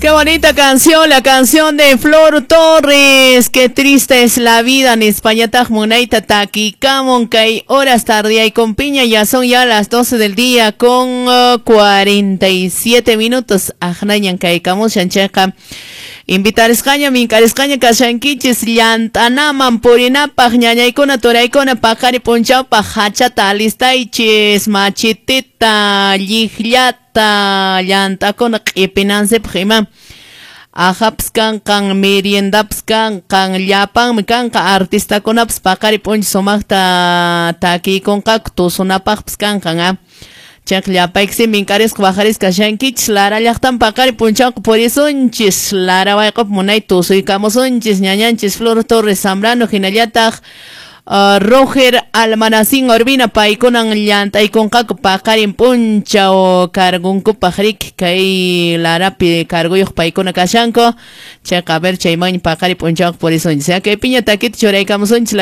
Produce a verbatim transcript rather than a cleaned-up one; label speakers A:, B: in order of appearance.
A: Qué bonita canción, la canción de Flor Torres. Qué triste es la vida en España. Munaita takikamon kay horas tardía y con piña ya son ya las doce del día con uh, cuarenta y siete minutos. Ajnañan kay kamushan chayqa. Invitarisqaña, minkarisqaña kashankichis llant'anaman purinapaq, ñañaykuna, turaykuna, paqari punchawpaq hachata alistaychis, machitita, llikllata, llant'akuna q'ipinansipaq ima. Ajapas kanqan, meriendapas kanqan, llapanmi kanqa, artistakunapas paqari p'unchaw sumaqta takiykunqaku, tusunapaqpas kanqan, ah. Chayqa llapayksi minkarisqa waqarisqa kashankichis Lara llaqtan paqari punchawqa purisunchis, Lara wayq'upi munay tusuykamusunchis, ñañanchis Flor Torres Zambrano hinallataq uh, Roger Almanacín Urbina paykunan llant'aykunqaku paqarin punchaw cargunkupaq riki kay Larapi carguyuq paykuna kashanku. Chayqa a ver chayman paqari punchawqa purisunchis. Kay piña takita churaykamusunchis.